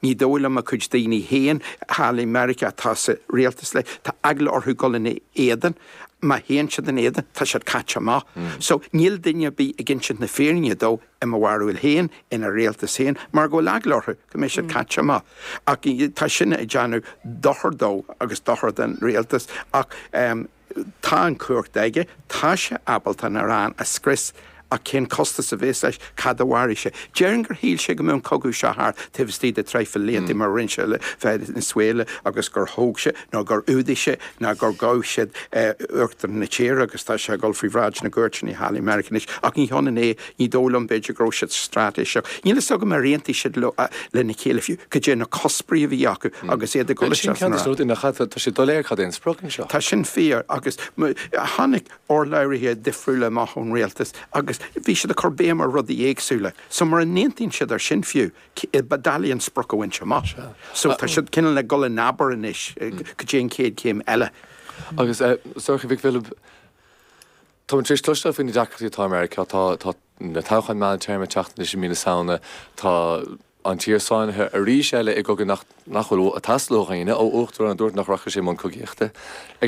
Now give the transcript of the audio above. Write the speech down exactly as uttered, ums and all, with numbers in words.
Ní dóigh liom a chuid daoine féin thall i Meiriceá atá sa rialtas leis, tá eagla orthu dul ina éadan. Má théann siad ina éadan, tá siad caite amach. So níl duine ar bith ag insint na fírinne dó i mo bharúil féin, ina rialtas féin, mar go bhfuil eagla orthu go mbeidh siad caite amach. Ach tá sin ag déanamh dochar dó agus dochar don rialtas ach tá an chumhacht aige, tá sé ábalta an Iaráin a scrios ach cén costas a bheas leis, cad a mhairfidh sé? Déarfainn gur shíl sé go mbeadh an cogadh seo thart taobh istigh de traidhfil blianta mar a rinne sé le Venezuela agus gur thóg sé nó gur fhuadaigh sé nó gur ghabh siad uachtarán na tíre agus tá sé ag dul faoi bhráid na gcúirteanna thall i Meiriceá anois. Ach ní hionann é, ní dóigh liom b'fhéidir go raibh siad straitéiseach. Níl fhios agam ar aontaigh siad lena chéile fiú cad é na cuspóirí a bhí acu agus iad ag dul isteach san Tá sé doiléir cad é an sprioc anseo. Tá sin fíor agus tháinig urlabhraithe difriúla amach ón rialtas agus bhí siad ag cur béim ar rudaí éagsúla. So mura n-aontaíonn siad ar sin fiú, ba doiligh an sprioc a bhaint amach. So tá siad cineál ag dul in abar anois go dtí an chéad chéim eile. Agus Sorcha Mhic Philib, Tá tar éis cloisteáil faoi na deacrachtaí atá i Meiriceá, tá na toghcháin meántéarma ag teacht anois i mí na Samhna, tá an tír sáinnithe arís eile i gcogadh nach nach bhfuil ag teastáil ó dhaoine ó uachtarán a dúirt nach rachadh sé i mbun cogaíochta. Ag an